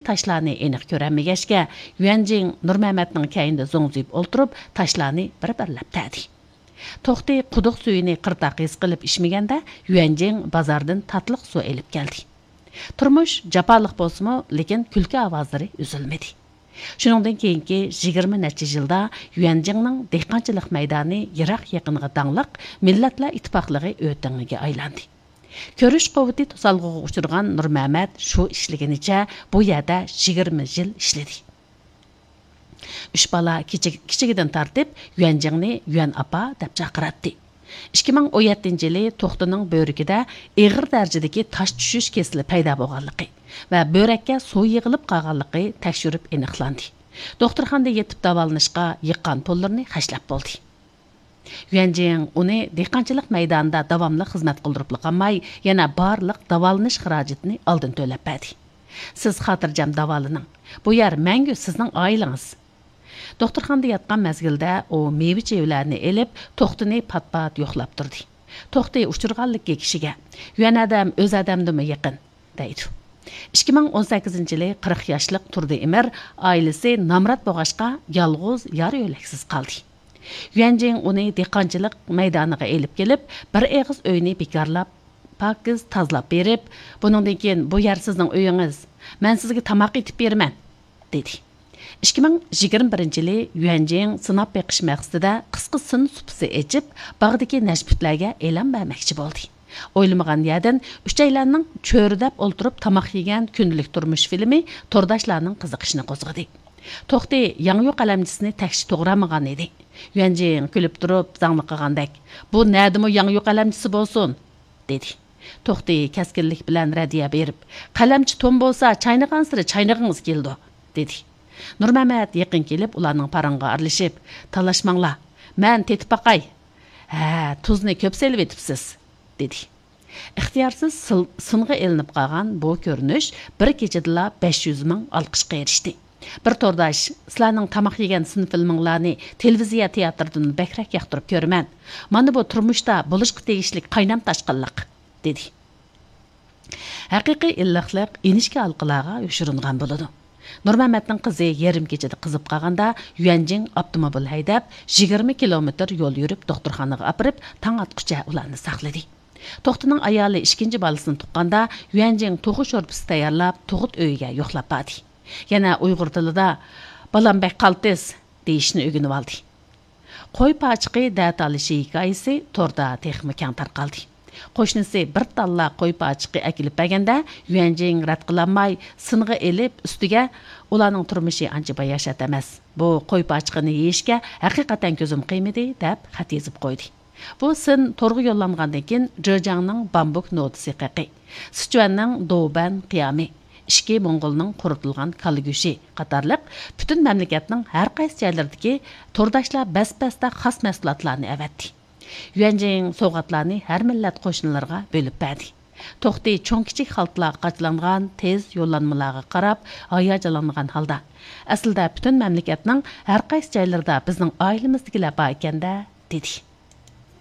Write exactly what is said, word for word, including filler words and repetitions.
تاشلارنى ئېنىق كۆرەلمىگەچكە، يۈەنجىڭ نۇرمەمەتنىڭ كەينىدە زوڭزىيىپ ئولتۇرۇپ، تاشلارنى بىر-بىرلەپ تەردى. توختى قۇدۇق سۈيىنى قىرتاق ھېس قىلىپ ئىچمىگەندە، يۈەنجىڭ بازاردىن تاتلىق سۇ ئېلىپ كەلدى. تۇرمۇش جاپالىق بولسىمۇ، لېكىن كۈلكە ئاۋازلىرى ئۈزۈلمىدى. شۇنىڭدىن كېيىنكى يىگىرمە نەچچە يىلدا يۈەنجىڭنىڭ دېھقانچىلىق مەيدانى يىراق-يېقىنغا داڭلىق مىللەتلەر ئىتتىپاقلىقى ئۆتىڭىگە ئايلاندى. كۆرۈش قۇۋۋىتى توسالغۇغا ئۇچرىغان نۇرمەمەت شۇ ئىشلىگىنىچە بۇ يەردە يىگىرمە يىل ئىشلىدى. ئۈچ بالا كىچىك-، كىچىكىدىن تارتىپ يۈەنجىڭنى يۈەن ئاپا دەپ چاقىراتتى. ئىككى مىڭ ئون يەتتىنچى يىلى توختىنىڭ بۆرىكىدە ئېغىر دەرىجىدىكى تاش چۈشۈش كېسىلى پەيدا بولغانلىقى ۋە بۆرەككە سۇ يىغىلىپ قالغانلىقى تەكشۈرۈپ ئېنىقلاندى. دوختۇرخانىدا يېتىپ داۋالىنىشقا يىغقان پۇللىرىنى خەجلەپ بولدى. يۈەنجىڭ ئۇنى دېھقانچىلىق مەيدانىدا داۋاملىق خىزمەت قىلدۇرۇپلا قالماي، يەنە بارلىق داۋالىنىش خىراجىتىنى ئالدىن تۆلەپ بەردى. سىز خاتىرجەم داۋالىنىڭ. بۇ يەر مەڭگۈ سىزنىڭ ئائىلىڭىز. دوختۇرخانىدا ياتقان مەزگىلدە ئۇ مېۋە-چېۋىلەرنى ئېلىپ، توختىنى پات-پات يوقلاپ تۇردى. توختى ئۇچرىغانلىكى كىشىگە، يۈەن ئادەم ئۆز ئادەمدىنمۇ يېقىن، دەيدۇ. ئىككى مىڭ ئون سەككىزىنچى يىلى قىرىق ياشلىق تۇردى ئىمىر ئائىلىسى نامرات بولغاچقا، يالغۇز، يار-يۆلەكسىز قالدى. يۈەنجىڭ ئۇنى دېھقانچىلىق مەيدانىغا ئېلىپ كېلىپ، بىر ئېغىز ئۆينى بىكارلاپ، پاكىز تازىلاپ بېرىپ، بۇنىڭدىن كېيىن بۇ يەر سىزنىڭ ئۆيىڭىز، مەن سىزگە تاماق ئېتىپ بېرىمەن، دېدى. ئىككى مىڭ يىگىرمە بىرىنچى يىلى يۈەنجىڭ سىناپ بېقىش مەقسىتىدە قىسقا سىن سۇپىسى ئېچىپ، باغدىكى نەشپۈتلەرگە ئېلان بەرمەكچى بولدى. ئويلىمىغان يەردىن ئۈچەيلەننىڭ چۆرىدەپ ئولتۇرۇپ تاماق يېگەن كۈندىلىك تۇرمۇش فىلىمى تورداشلارنىڭ قىزىقىشىنى قوزغىدى. توختى ياڭيۇ قەلەمچىسىنى تەكشى توغرا ئالمىغان ئىدى. يۈەنجىڭ كۈلۈپ تۇرۇپ زاڭلىقىغاندەك، بۇ نەدىمۇ ياڭيۇ قەلەمچىسى بولسۇن؟ دېدى. توختى كەسكىنلىك بىلەن رەددىيە بېرىپ، قەلەمچە توم بولسا، چاينىغانسېرى چاينىغىڭىز كېلىدۇ، دېدى. نۇرمەمەت يېقىن كېلىپ، ئۇلارنىڭ پاراڭىغا ئارىلىشىپ، تالاشماڭلار، مەن تېتىپ باقاي. ھە، تۇزنى كۆپ سېلىۋېتىپسىز، دېدى. ئىختىيارسىز سىل-، سىنغا ئېلىنىپ قالغان بۇ كۆرۈنۈش بىر كېچىدىلا بەش يۈز مىڭ ئالقىشقا ئېرىشتى. بىر تورداش، سىلەرنىڭ تاماق يېگەن سىن فىلمىڭلارنى تېلېۋىزىيە تىياتىرىدىن بەكرەك ياقتۇرۇپ كۆرىمەن. مانا بۇ تۇرمۇشتا بولۇشقا تېگىشلىك قاينام تاشقىنلىق، دېدى. ھەقىقىي ئىللىقلىق ئىنچىكە ھالقىلارغا يوشۇرۇنغان بولىدۇ. نۇرمەمەتنىڭ قىزى يېرىم كېچىدە قىزىپ قالغاندا، يۈەنجىڭ ئاپتوموبىل ھەيدەپ، يىگىرمە كىلومېتىر يول يۈرۈپ، دوختۇرخانىغا ئاپىرىپ، تاڭ ئاتقۇچە ئۇلارنى ساقلىدى. توختىنىڭ ئايالى ئىككىنچى بالىسىنى تۇغقاندا، يۈەنجىڭ توخۇ شورپىسى تەييارلاپ، تۇغۇت ئۆيىگە يوقلاپ باردى. يەنە ئۇيغۇر تىلىدا، «بالام بەك قالتىس» دېيىشنى ئۆگىنىۋالدى. قوي پاچىقى دەتالىشى ھېكايىسى توردا تېخىمۇ كەڭ تارقالدى. قوشنىسى بىر تاللا قوي پاچىقى ئەكېلىپ بەرگەندە، يۈەنجىڭ رەت قىلالماي، سىنغا ئېلىپ، ئۈستىگە، «ئۇلارنىڭ تۇرمۇشى ئانچە باياشات ئەمەس. بۇ قوي پاچىقىنى يېيىشكە ھەقىقەتەن كۆزۈم قىيمىدى» دەپ خەت يېزىپ قويدى. بۇ سىن تورغا يوللانغاندىن كېيىن، جېجياڭنىڭ بامبۇك نودىسى قېقى، سىچۈەننىڭ دوۋبەن قىيامى، ئىچكى موڭغۇلنىڭ قۇرۇتۇلغان كالا گۆشى قاتارلىق پۈتۈن مەملىكەتنىڭ ھەر قايسى جايلىرىدىكى تورداشلار بەس-بەستە خاس مەھسۇلاتلارنى ئەۋەتتى. يۈەنجىڭ سوۋغاتلارنى ھەر مىللەت قوشنىلىرىغا بۆلۈپ بەردى. توختى چوڭ-كىچىك خالتىلارغا قاچىلانغان تېز يوللانمىلارغا قاراپ ھاياجانلانغان ھالدا، «ئەسلىدە پۈتۈن مەملىكەتنىڭ ھەر قايسى جايلىرىدا بىزنىڭ ئائىلىمىزدىكىلەر بار ئىكەن-دە» دېدى.